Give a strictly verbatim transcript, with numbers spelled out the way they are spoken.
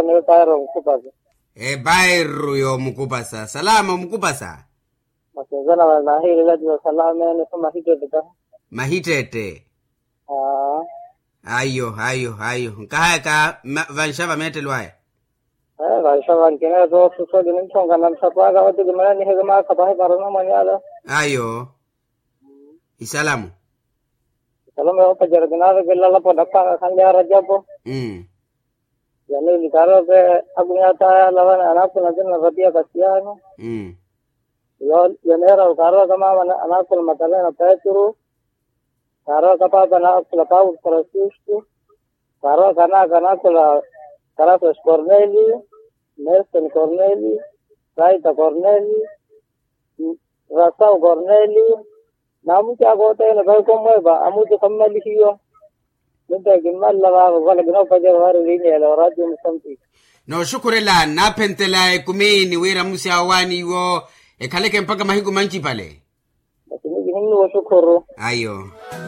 Ebairru yoomukupasa. Ebairru yoomukupasa salama omukupasa. Masinzana vale nahiilela tiyo salama ene so mahittette tahi. Mahittette. Ayo ayo ayo nkahayaka. Vanxa vameettelo aya. Vanxa vankinetto suso kininthonka na msapwaka vati kimananiheke maakha pahi para namwanyala. Ayo. Isalamu. Isalamu yoopacerya kinaavekela lapo naphaka khanle arajapo. Yaneli karoke. Akunyata yalavana anakhula nzina na vatiya kasiyano. Yaneera karoka mama anakhula matalena petru. Karoka papa anakhula paulo francisco. Karoka anaka anakhula karasas corneli. Nelson corneli. Saita corneli. Rasau corneli. Namuti akootene vaikommwepa amuti khammalihiwa. Ninteke kimmalala vavo vala kinoopacera vari lineela orati omusampi. Nooxukhurela naaphentela ekumini wira musi awo waani iwo ekhaleke mpakha mahiku manci pale. Basi nikihinnuwa oxukhuru. Ayo.